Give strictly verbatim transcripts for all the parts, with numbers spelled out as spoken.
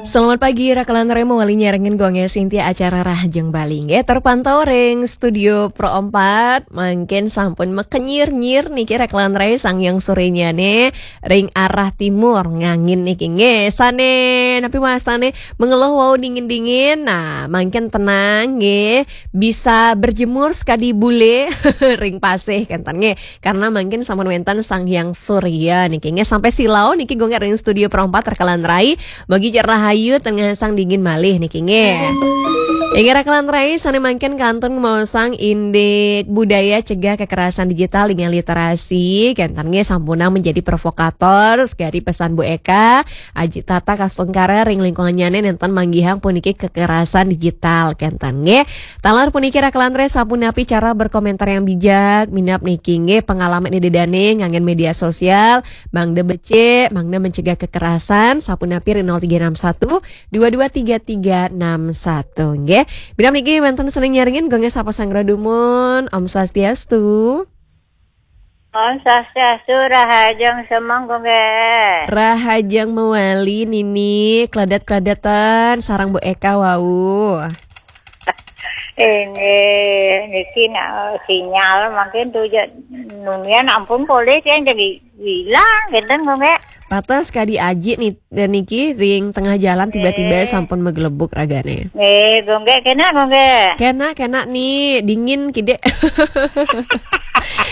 Selamat pagi, Raka lan Rai, mawali nyarengin Gung Sintia acara Rahajeng Bali. Nggih, terpantau ring Studio Pro empat, mangkin sampun makenyir-nyir niki Raka lan Rai, sanghyang sorenyane ring arah timur ngangin niki. Nggih, sane napi wastane mengeluh wau dingin-dingin. Nah, mangkin tenang nggih, bisa berjemur sekadi bule ring pasih kenten nggih. Karena mangkin sampun wenten Sang Hyang Surya niki nggih, sampai silau niki Gung ring Studio Pro empat Raka lan Rai. Mugi cek rahayu tengah sang dingin malih niki nggih. Inggih Raka lan Rai, sane mangkin kantun ngemaosang indik budaya cegah kekerasan digital dengan literasi. Kenten nggih, sampunang menjadi provokator, sekadi pesan Bu Eka, Aji Tata Kastungkara ring lingkungannyane nenten manggihang puniki kekerasan digital kenten nggih. Taler puniki Raka lan Rai, sapunapi cara berkomentar yang bijak, minab niki nggih pengalaman ida dane nganggen media sosial, mangda becik, mangda mencegah kekerasan, sapunapi ring nol tiga enam satu dua dua tiga tiga enam satu nggih. Minab niki wenten sane nyarengin Gung sapa sanggra dumun. Om Swastiastu. Om Swastiastu, Rahajeng semeng Gung. Rahajeng mawali Nini, kledet-kledetan sareng Bu Eka wau. Inggih, niki nak sinyal mangkin tu je nunian ampun polih yang jadi hilang kenten Gung. Patas kadi aji ni, dan niki ring tengah jalan tiba-tiba Eh. sampun magelebuk ragane. Eh, Gung, kena Gung. Kena, kena ni, dingin kide.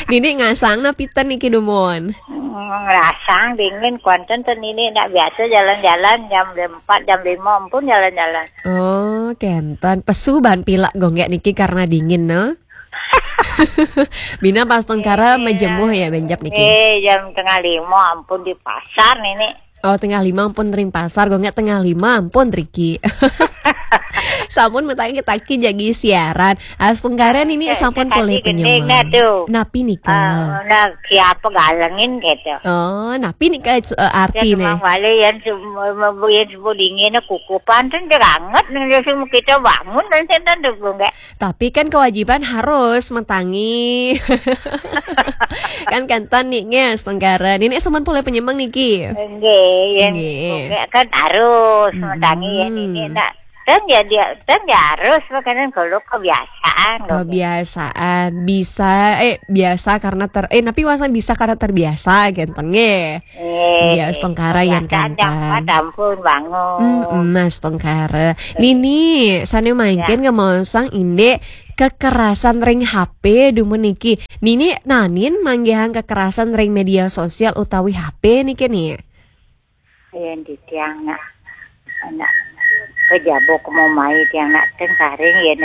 Nini ngasang napi ten niki dumun? Hmm, ngerasang dingin, kuanten ten ini nak biasa jalan-jalan jam empat, jam lima ampun jalan-jalan. Oh, kenten. Pesu ban pilek Gung niki karena dingin, no? Bina pas tengkara Eh, majemuh ya, benjap niki. Eh, jam tengah lima ampun di pasar nini. Oh, tengah lima ampun ring pasar, Gung tengah lima ampun riki. Sampun mataki-taki jagi siaran. Astungkara nini Eh, sampun sakadi polih gending penyemang. Dah tu. Napi nika? Ah, nah, siapa galengin gitu. Oh, napi nika, eh, arti Ya, nih? Cuma balik yang semua, yang semua dingin, kukupan tu dia anget nih, dia semua kita bangun dan saya tak dukung, nggak? Tapi kan kewajiban harus mentangi. Kan kenten ni nggih, astungkara. Nini sampun polih penyemang niki. Nggih, yen Nggih. Nggih, kan harus Mm-mm. mentangi ya ini nak. Kan ya dia, kan ya harus makanan kalau kebiasaan, Gung. Kebiasaan. Bisa, eh, biasa karena ter-, eh, napi wastane bisa karena terbiasa, kenten nggih. Eh, Nggih, astungkara yan kebiasaan kenten. Dapat ampun bangun. Mm-mm, astungkara. Nini, sane mangkin Ya. ngemaosang indik kekerasan ring H P dumun niki. Nini nanin manggihang kekerasan ring media sosial utawi H P niki ni? Yen titiang nak, nak kejabuk mau mai tiang nak tengkaring yen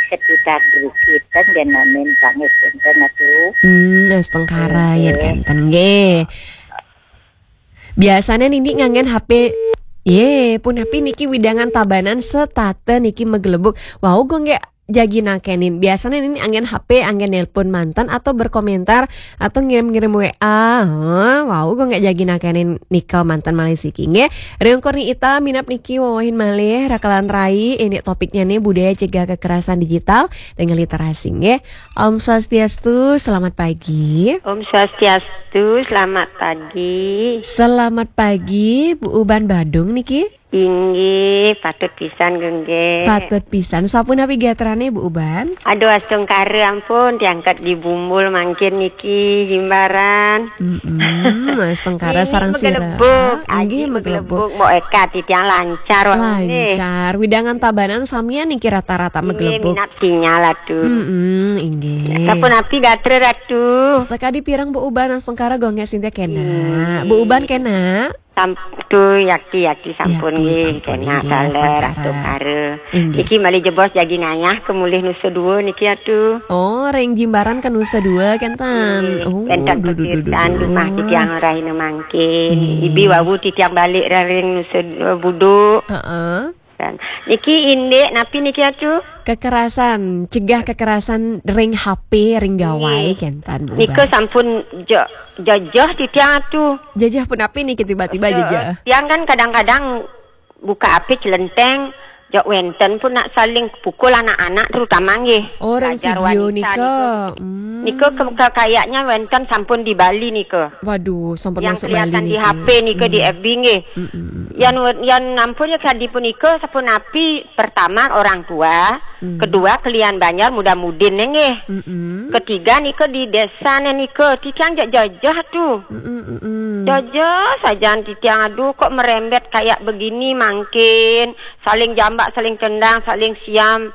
sekitar drikiten yen nanin sangis enten atu. Hmm, astungkara yen Nggih. kenten nggih. Biasane nini nganggen H P. Ye, punapi niki widangan tabanan setata niki magelebuk. Wau Gung nggih jagi nakenin. Biasane nini anggen H P, anggen nelpon manten atau berkomentar atau ngirim-ngirim W A. Heh, wau Gung nggih jagi nakenin nika manten malih siki nggih. Ring Kurni Ita minab niki wewehin malih Raka lan Rai, ini topiknya nih budaya cegah kekerasan digital dengan literasi nggih. Om Swastiastu, selamat pagi. Om Swastiastu, selamat pagi. Selamat pagi, Bu Uban Badung niki. Inggih, patut pisan, Gung nggih. Patut pisan. Sapunapi gatrane, Bu Uban? Aduh, astungkara ampun, tiang ket di Bumbul mangkin niki, Jimbaran. Mm-mm, astungkara Nini sareng sira. Magelebuk, Inggih, aji magelebuk. Magelebuk, Mbok Eka, titiang lancar, wau nggih. Lancar. Widangan tabanan samian niki rata-rata Inggih, magelebuk. Minab sinyal atu. Mm-mm, inggih. Sapunapi gatra Ratu? Sakadi pireng Bu Uban, astungkara Gung nggih Sintia kena. Hmm. Bu Uban kena? Sam-, tu yakti, yakti sampun Yakti nggih, sampun kena inggih, taler astungkara. Astungkara. Inggih. Niki malih jebos jagi ngayah kemulih Nusa Dua niki atu. Oh, ring Jimbaran ke Nusa Dua kenten. Nggih, Oh, wenten duh, duh, duh, duh, kegiatan duh. Rumah titiang rahina mangkin. Nggih. Ibi wau titiang balik ring Nusa Dua Buduk. Heeh. Dan niki indik napi niki atu? Kekerasan, cegah kekerasan ring H P, ring gawai, Nggih. Kenten, Bu Nika Uban. Sampun jo-, jajah titiang atu. Jajah punapi niki tiba-tiba Jo-, jajah? Tiang kan kadang-kadang buka H P celenteng, Jok wenten pun nak saling pukul anak-anak terutama nggih. Oh, orang pelajar video wanita nika. Nika. Hmm. Nika ke, ke, kayaknya wenten sampun di Bali nika. Waduh, sampun yang masuk kelihatan Bali di niki. H P nika di hmm. F B nggih. Hmm, hmm, hmm. Yang yang ampun ya kadi punika sapunapi pertama orang tua, hmm. Kedua kelian banjar muda-mudin nggih. Hmm, hmm. Ketiga nika di desa nika titiang jajah tuh. Hmm, hmm, hmm, hmm. Jajah saja titiang aduh kok merembet kayak begini mangkin saling jambak, saling tendang, saling siam,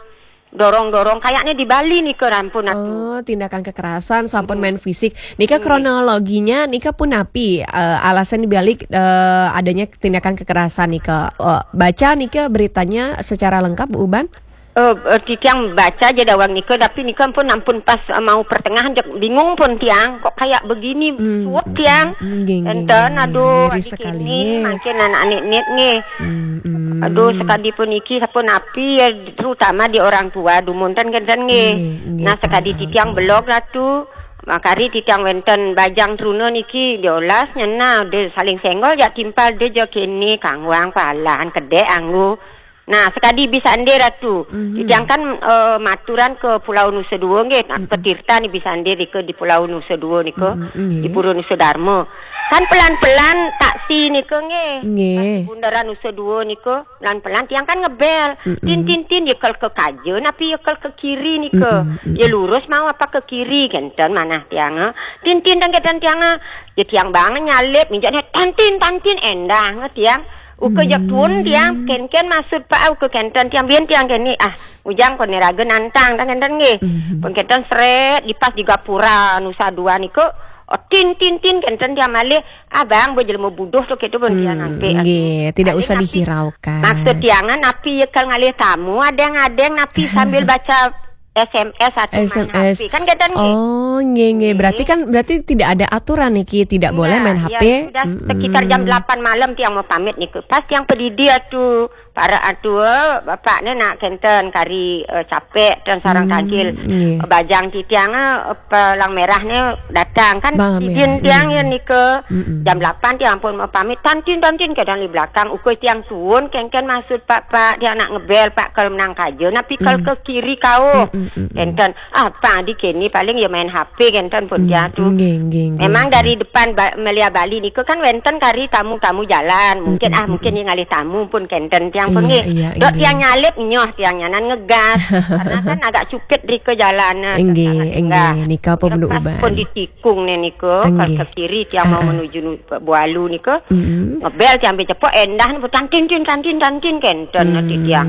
dorong-dorong. Kayaknya di Bali nih ke rampun aku. Oh, tindakan kekerasan sampun main fisik. Nika kronologinya nika punapi, eh, alasan dibalik, eh, adanya tindakan kekerasan nika. Eh, baca nika beritanya secara lengkap, Bu Uban? Eh, eh, titiang baca aja dawang nika, tapi nika pun ampun pas, eh, mau pertengahan jek bingung pun tiang, kok kayak begini. Hmm, suwet hmm, tiang. Hmm, nggih, nggih, enten nggih, aduh miris sekali ini nggih. Makin anak nit-nit nggih. Hmm, hmm. Aduh sekadi pun iki sapunapi ya, terutama di orang tua dumun ten kenten nggih. Nggih, nggih, nah sekadi pun, titiang belog ratu, makari titiang wenten bajang truna niki diolas nyena de saling senggol jak timpal de je kene kangwang palan kedek anggu. Nah sekadi bisa ende ratu. Mhm. Titiang kan, eh, maturan ke Pulau Nusa Dua nggih, nak petirta ni bisa ende di ke di Pulau Nusa Dua nika, mhm, nggih. Di Pura Nusa Dharma. Kan pelan-pelan taksi nika nggih. Nggih. Bundaran Nusa Dua nika pelan-pelan tiang kan ngebel. Mm-mm. Tin tin tin ya kel ke kajen api ya kel ke kiri nika. Mm-mm, mm-mm. Ya lurus mau apa ke kiri kenten manah tiang, eh. Tin tin dan kenten tiang, eh. Ya tiang bang nyalip minjak tantin tantin endah nge tiang. Uke jak tuun tiang ken-ken maksud pak uke kenten tiang bien tiang keni ah ujang kone raga nantang tang kenten nggih. Mhm. Pun kenten sret di pas di gapura Nusa Dua niko. Oh, tin tin tin kenten tiang malih. Abang bo jelema buduh tu kitu pun tiang ampe. Nggih, tidak usah dihiraukan. Maksud tiangan api ya kal ngalih tamu adeng-adeng napi sambil baca S M S atau main S M S. H P. Kan kenten nggih. Oh, nggih, nggih. Berarti kan, berarti tidak ada aturan niki, tidak boleh main H P. Iya, ya, sudah sekitar jam delapan malam tiang mau pamit niku. Pas tiang pedidi atu, para atu, eh, bapak ni nak kenten kari, eh, capek dan sarang tangkil. Nggih. Bajang titiang, eh, pelang merah ni datang kan. Bang izin merah, tiang ya nggih. Nika. Mm-mm. Jam delapan tiang pun mau pamit. Tantin, tantin ke dalam belakang. Ukui tiang tuun, kengken maksud pak, pak. Tiang nak ngebel, pak, kalau menang kaja. Napi kalau ke kiri kau. Mm-mm, mm-mm. Kenten. Apa di kini paling ya main H P kenten pun dia tu. Nggih, nggih, nggih. Memang dari depan ba-, Melia Bali nika kan wenten kari tamu-tamu jalan. Mungkin, mm-mm, ah, mungkin yang ngalih tamu pun kenten tiang pun nggih. Iya, iya, dok nggih. Tiang nyalip nyoh tiang nyanan ngegas. Karena kan agak cupit rika jalan. Nggih, nggih. Nika pun uban. Pun ditikung ni nika, nggih. Ke kiri tiang mau menuju nu-, Bualu nika. Mm-mm. Ngebel tiang ambil cepok endah ni tantin tin tantin tantin kenten nanti tiang.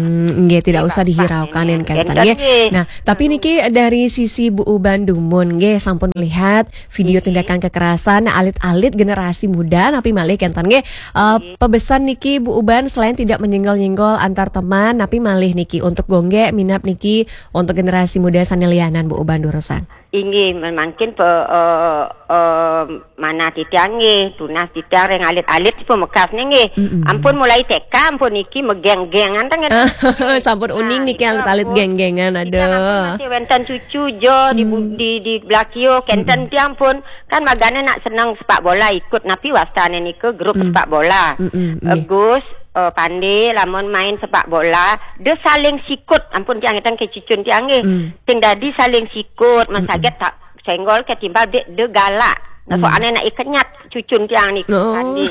Nggih, tidak usah dihiraukan yang kenten nggih. Nggih. Nah, tapi niki dari sisi Bu Uban dumun nggih sampun melihat video tindakan kekerasan alit-alit generasi muda napi malih kenten nggih. Eh, pebesan niki Bu Uban selain tidak menyenggol-nyenggol antar teman, napi malih niki untuk gongge minap niki untuk generasi muda sane lianan Bu Uban durusan. Inggih, mangkin pe, eh, eh, manah titiang nggih, tunas titiang reng alit-alit si pemekas ni nggih. Mm-mm. Ampun mulai T K, ampun niki megeng-gengan tang ngeten. Sampun uning niki alit-alit geng-gengan, aduh. Titiang ampun masih wenten cucu jo di bu-, di, di belakio, kenten tiang pun kan magane nak seneng sepak bola ikut, napi wastane nika grup sepak bola. Mm-mm, nggih. Agus, eh, Pande, lamun main sepak bola, dia saling sikut, ampun tiang ngeten ke cucun tiang nggih. Sing dadi saling sikut, masaget tak senggol ketimbal dek de galak. Nah, soalnya nak kenyat cucun tiang ni tadi.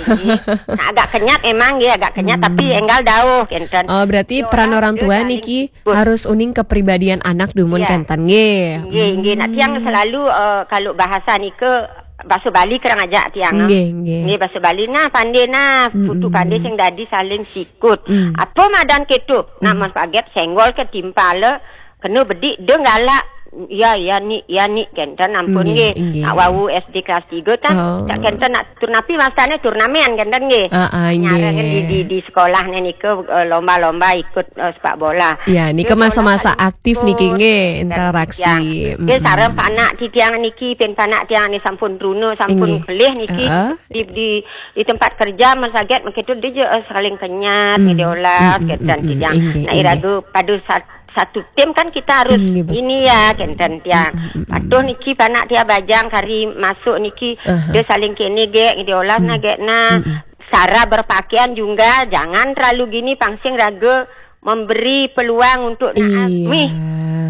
Nah, agak kenyat emang ya, agak kenyat tapi enggal dauh kenten. Oh, berarti peran orang tua niki harus uning kepribadian anak dumun kenten nggih. Nggih, nggih. Nak tiang selalu, eh, kalau bahasa nika bahasa Bali kerang ajak tiang. Nggih, nggih. Nggih, bahasa Bali nah, Pande nah, putu Pande sing dadi saling sikut. Apa madan ketu? Nak masaget senggol ketimpal kena bedik de galak. Ya, ya ni, ya ni kenten ampun nggih. Nggih, nggih. Nak wau S D kelas tiga tah. Oh. Tak kenten nak turnapi masane turnamen kenten nggih. Ah, ah, nggih. Nyarang di, di, di sekolah ni nika, eh, lomba-lomba ikut, eh, sepak bola. Ya, nika masa-masa aktif niki nggih, interaksi. Dia sareng panak titiang niki, pen panak tiang ni sampun truna, sampun kelih niki. Di, di, di tempat kerja masaget begitu dia je, eh, saling kenyat, dia olah, kenten titiang. Nggih, nak iraga pada sat-, satu tim kan kita harus ini ya, kenten tiang. Patuh niki panak tiang bajang kari masuk niki, dia saling kene gek, dia olah na gek na. Cara berpakaian juga jangan terlalu gini, pangsing raga memberi peluang untuk naas. Iya. Mih,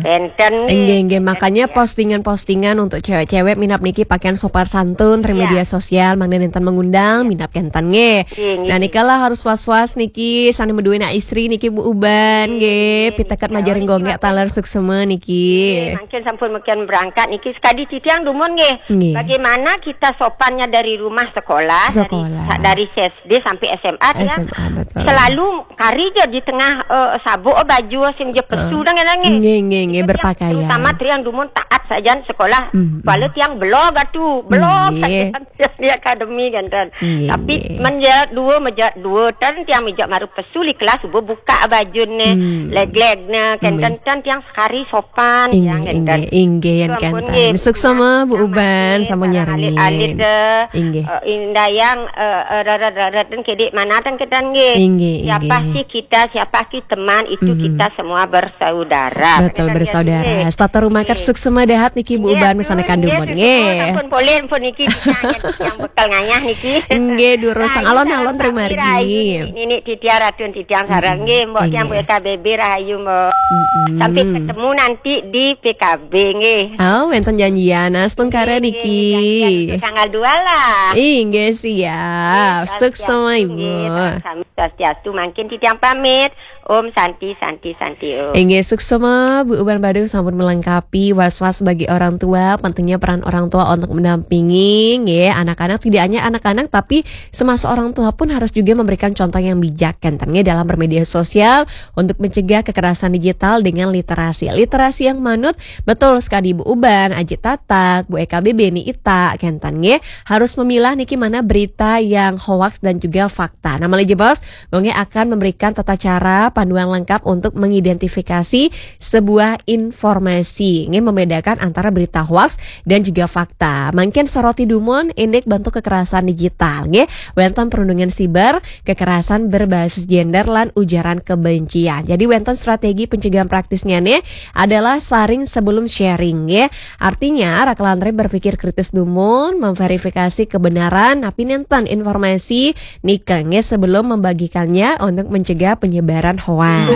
enten nggih, enten nggih. Makanya postingan-postingan untuk cewek-cewek minab niki pakaian sopan santun, iya, media sosial, mangda nenten mengundang, iya, minab kenten nggih. Nggih, nggih. Nah, nikalah harus was-was niki, sane meduwe anak istri niki Bu Uban nggih. Nggih, piteket majaring gonggek taler suksema niki. Nggih, mangkin sampun meken berangkat niki, sekadi titiang dumun nggih. Nggih. Bagaimana kita sopannya dari rumah sekolah, sekolah, dari, dari S D sampai S M A, tiang S M A, betul, selalu kari je di tengah, eh, sabuk, eh, baju sing je pesu, eh, dang, dang, nggih. Nggih, nggih, nggih, itu tiang, berpakaian. Terutama tiang dumun taat sajan sekolah. Hmm, hmm. Kuala tiang belog atu, belog sajan di akademi kan, kan. Nggih, tapi nggih. Men je dua, meja dua, tan tiang meja maru pesu li kelas, subuh buka bajune, hmm, leglegne, kenten, nggih, tan tiang sekari sopan, inggih, tiang, inggih, kenten. Inggih, yan, ampun, kenten. Nggih. Suksema Bu Uban, sampun nyarengin. Alit-alit, eh, inggih. Eh, indayang, eh, eh, rarat-rarat dan kedik mana tan ketan nggih. Inggih, siapa, inggih, sih kita, siapa sih teman, itu, mm-mm, kita semua bersaudara. Betul, kan, bersaudara. Nggih. Setata rumah kan, nggih, suksema dahat niki Bu Uban, nggih, mesane aduh, kandumun, nggih, suksema, nggih. Sampun polih, ampun niki, yang, yang bekal ngayah niki. Nggih, durus. Rahayu alon-alon sareng sami, terima rahayu, niki. Nini Titia, Ratu Tiang sareng, mm-mm, nggih, Mbok tiang, nggih. Bu Eka B B rahayu, Mbok. Mm-mm. Sampai ketemu nanti di P K B, nggih. Oh, wenten janjian, astungkara niki. Nggih, nggih, janjian untuk tanggal dua lah. Inggih, siap. Nggih, suksema, nggih, Ibu. Sami swastiastu, mangkin titiang pamit. Om Santi, Santi, Santi, Om. Inggih, suksema, Bu Uban Badung sampun melengkapi was-was bagi orang tua, pentingnya peran orang tua untuk mendampingi, nggih, anak-anak, tidak hanya anak-anak, tapi semasa orang tua pun harus juga memberikan contoh yang bijak, kenten nggih, dalam bermedia sosial untuk mencegah kekerasan digital dengan literasi. Literasi yang manut, betul sekali Bu Uban, Aji Tatak, Bu Eka B B ni ita, kenten nggih, harus memilah niki mana berita yang hoaks dan juga fakta. Nah, malih jebos, Gonge akan memberikan tata cara panduan lengkap untuk mengidentifikasi sebuah informasi, nggih, membedakan antara berita hoaks dan juga fakta. Mangkin soroti dumun indik bentuk kekerasan digital, nggih. Wenten perundungan siber, kekerasan berbasis gender, lan ujaran kebencian. Jadi wenten strategi pencegahan praktisnya nih adalah saring sebelum sharing, nggih. Artinya, raka lan rai berpikir kritis dumun, memverifikasi kebenaran napi nenten informasi nika, nggih, sebelum membagikannya untuk mencegah penyebaran hoaks.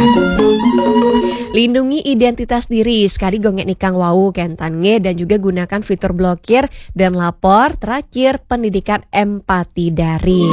Lindungi identitas diri, sekali gonge nikang wau, kenten nggih, dan juga gunakan fitur blokir dan lapor, terakhir pendidikan empati daring.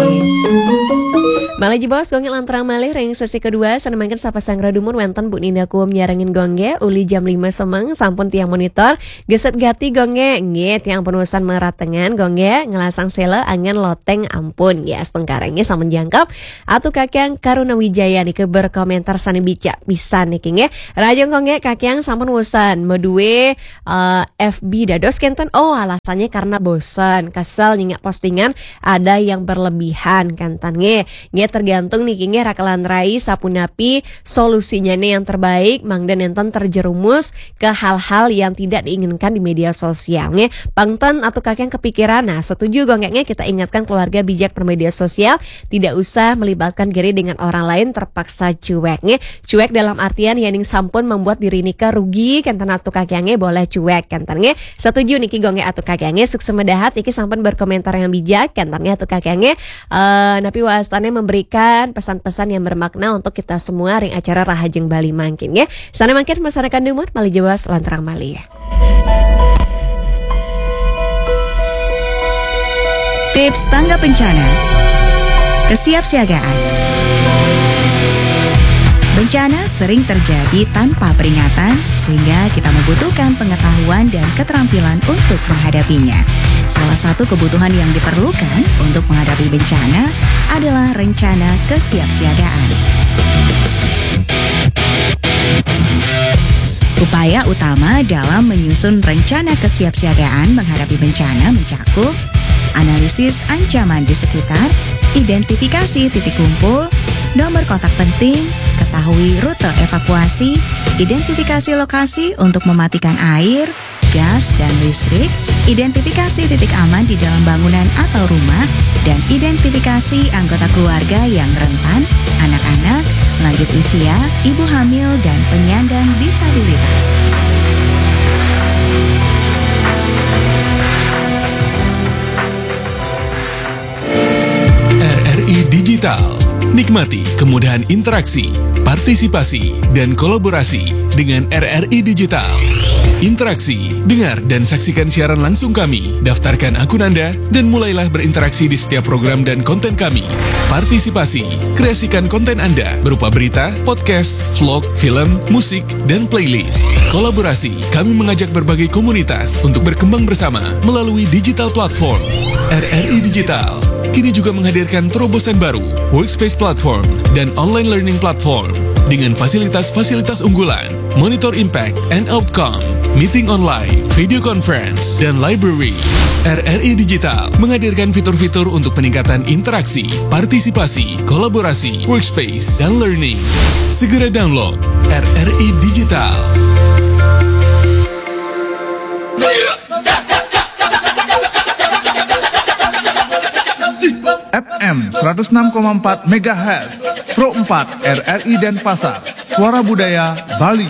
Malih jebos gonge lanturang malih ring sesi kedua, sane mangkin sapa sanggra dumun wenten Bu Ninda Kuum nyarengin gonge, uli jam lima semeng sampun tiang monitor, geset gati gonge, nggih, tiang penusan meratengan gonge, ngelasang sela angen loteng ampun, ya, astungkara nggih, sampun jangkep. Atu Kakang Karuna Wijaya niki berkomentar sane bicak pisan niki nggih. Rahajeng gonge Kakang sampun wusan meduwe, eh, F B dados kenten. Oh, alasannya karena bosan, kesel nyingak postingan ada yang berlebihan kenten nggih. Nggih, tergantung niki nggih raka lan rai sapunapi solusinya nih yang terbaik, mangda nenten terjerumus ke hal-hal yang tidak diinginkan di media sosial nggih. Pang ten atu Kakang kepikiran. Nah, setuju gonge nggih, kita ingatkan keluarga bijak bermedia sosial, tidak usah melibatkan diri dengan orang lain terpaksa cuek nggih. Cuek dalam artian yening sampun membuat diri nika rugi, kenten atu Kakang nggih, boleh cuek kenten nggih. Setuju niki gonge atu Kakang nggih, suksema dahat niki sampun berkomentar yang bijak, kenten nggih atu Kakang nggih. Eh, napi wastane memberikan pesan-pesan yang bermakna untuk kita semua ring acara Rahajeng Bali mangkin nggih. Sane mangkin mesanakan dumun, malih jebos lanturang malih. Tips tanggap bencana. Kesiapsiagaan. Bencana sering terjadi tanpa peringatan, sehingga kita membutuhkan pengetahuan dan keterampilan untuk menghadapinya. Salah satu kebutuhan yang diperlukan untuk menghadapi bencana adalah rencana kesiapsiagaan. Upaya utama dalam menyusun rencana kesiapsiagaan menghadapi bencana mencakup analisis ancaman di sekitar, identifikasi titik kumpul, nomor kontak penting, ketahui rute evakuasi, identifikasi lokasi untuk mematikan air, gas, dan listrik, identifikasi titik aman di dalam bangunan atau rumah, dan identifikasi anggota keluarga yang rentan, anak-anak, lanjut usia, ibu hamil, dan penyandang disabilitas. R R I Digital. Nikmati kemudahan interaksi, Partisipasi dan kolaborasi dengan R R I Digital. Interaksi, dengar dan saksikan siaran langsung kami. Daftarkan akun Anda dan mulailah berinteraksi di setiap program dan konten kami. Partisipasi, kreasikan konten Anda berupa berita, podcast, vlog, film, musik, dan playlist. Kolaborasi, kami mengajak berbagai komunitas untuk berkembang bersama melalui digital platform. R R I Digital kini juga menghadirkan terobosan baru, Workspace Platform, dan Online Learning Platform, dengan fasilitas-fasilitas unggulan, monitor impact and outcome, meeting online, video conference, dan library. R R I Digital menghadirkan fitur-fitur untuk peningkatan interaksi, partisipasi, kolaborasi, workspace, dan learning. Segera download R R I Digital. F M seratus enam koma empat megahertz, Pro empat R R I Denpasar, Suara Budaya Bali.